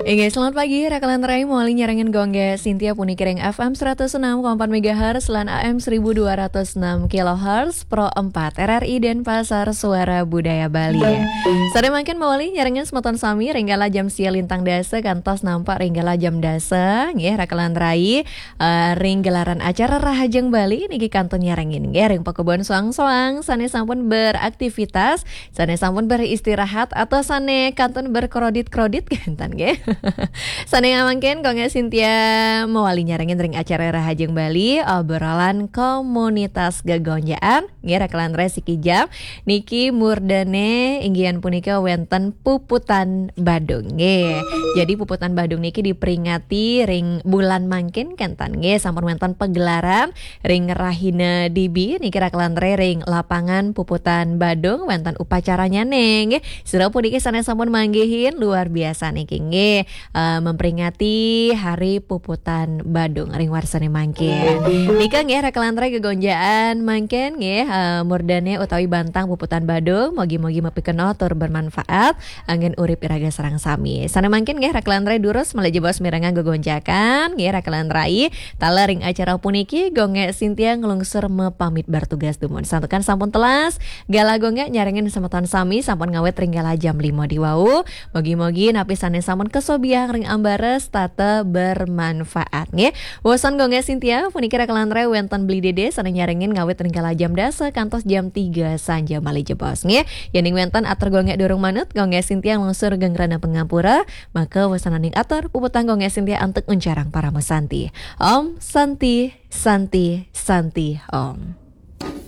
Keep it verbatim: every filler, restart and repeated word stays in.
Inggih, selamat pagi, Raka lan Rai, mawali nyarengin Gung Gék Sintia puniki ring F M seratus enam koma empat megahertz lan A M seribu dua ratus enam kilohertz, Pro empat R R I Denpasar, Suara Budaya Bali. Sané mangkin mawali nyarengin semeton sami ring kala jam sia lintang dasa kantos nampak ring kala jam dasa, nggih, Raka lan Rai, eh, ring gelaran acara Rahajeng Bali niki kantun nyarengin, nggih, ring pakubon soang-soang sané sampun beraktivitas, sané sampun beristirahat, atau sané kantun berkrodit-krodit, kénten, nggih. Sané mangkin, Gung Gék Sintia mawali nyarengin ring acara Rahajeng Bali, obrolan komunitas gegonjaan, nggih, Raka lan Rai, siki jam niki murdané inggih punika wénten Puputan Badung, nggih. Jadi, Puputan Badung niki diperingati ring bulan mangkin, kénten, nggih, sampun wénten pagelaran ring rahina dibi niki, Raka lan Rai, ring lapangan Puputan Badung wénten upacaranyané, nggih. Sira puniki sané sampun manggihin, luar biasa niki, nggih, eh, memperingati Hari Puputan Badung ring warsané mangkin. Nika, nggih, Raka lan Rai, gegonjaan mangkin, nggih, eh, murdané utawi bantang Puputan Badung, mugi-mugi mapikenoh tur bermanfaat anggén urip iraga sareng sami. Sané mangkin, nggih, Raka lan Rai, durus malih jebos mirengang gegonjakan, nggih, Raka lan Rai, taler ring acara puniki, Gung Gék Sintia nglungsur mapamit bertugas dumun. Santukan sampun telas, galah Gung Gék nyarengin semeton sami sampun ngawit ring galah jam lima diwau. Mugi-mugi napi sané sampun kasobiahang ring ambara setata bermanfaat, nggih. Wewasan Gung Gék Sintia puniki, Raka lan Rai, wénten Beli Dédé sané nyarengin ngawit ring galah jam dasa kantos jam tiga sanja malih jebos, nggih. Yéning wénten atur Gung Gék durung manut, Gung Gék Sintia nglungsur geng rena pangampura, maka wasananing atur puputang Gung Gék Sintia antuk uncarang parama santi. Om Santi, Santi, Santi, Om.